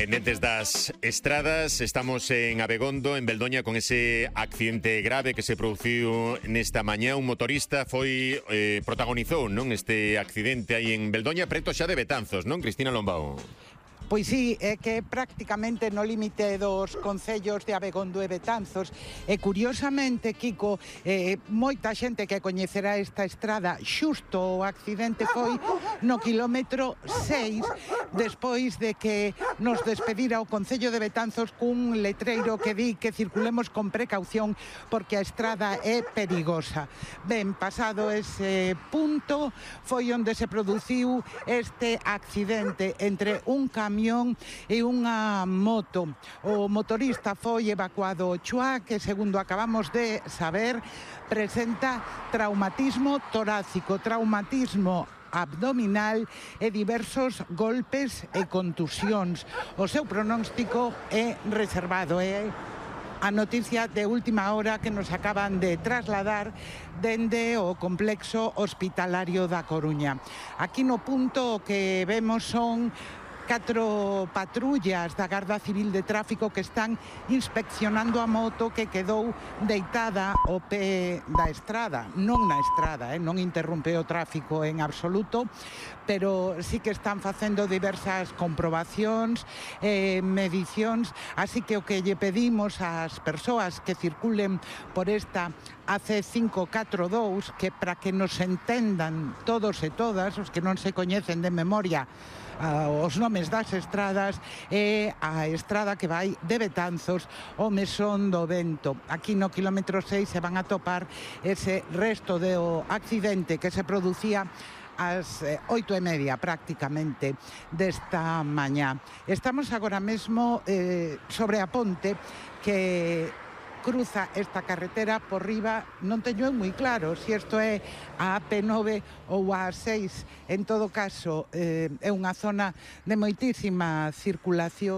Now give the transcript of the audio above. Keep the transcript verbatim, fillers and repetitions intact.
Pendentes das estradas, estamos en Abegondo, en Beldoña, con ese accidente grave que se produciu nesta mañá. Un motorista foi eh, protagonizou, non, este accidente aí en Beldoña, preto xa de Betanzos, non, Cristina Lombao? Pois sí, é que prácticamente no límite dos concellos de Abegondo e Betanzos. E curiosamente, Kiko, eh, moita xente que coñecerá esta estrada, xusto o accidente foi no quilómetro seis, despois de que nos despedira o Concello de Betanzos cun letreiro que di que circulemos con precaución porque a estrada é perigosa. Ben, pasado ese punto, foi onde se produciu este accidente entre un camión e unha moto. O motorista foi evacuado ao Chuá, que segundo acabamos de saber, presenta traumatismo torácico, traumatismo abdominal e diversos golpes e contusións. O seu pronóstico é reservado, é a noticia de última hora que nos acaban de trasladar dende o complexo hospitalario da Coruña. Aquí no punto o que vemos son catro patrullas da Garda Civil de Tráfico que están inspeccionando a moto que quedou deitada ao pé da estrada, non na estrada, eh? non interrompe o tráfico en absoluto, pero sí que están facendo diversas comprobacións, eh, medicións, así que o que lle pedimos ás persoas que circulen por esta A C cinco catro dous, que para que nos entendan todos e todas, os que non se coñecen de memoria uh, os nomes das estradas, é a estrada que vai de Betanzos ao Mesón do Vento. Aquí no quilómetro seis se van a topar ese resto do accidente que se producía ás oito e media prácticamente desta mañá. Estamos agora mesmo eh, sobre a ponte que cruza esta carretera por riba. Non teño moi claro se isto é a A P nove ou a A seis. En todo caso, eh, é unha zona de moitísima circulación.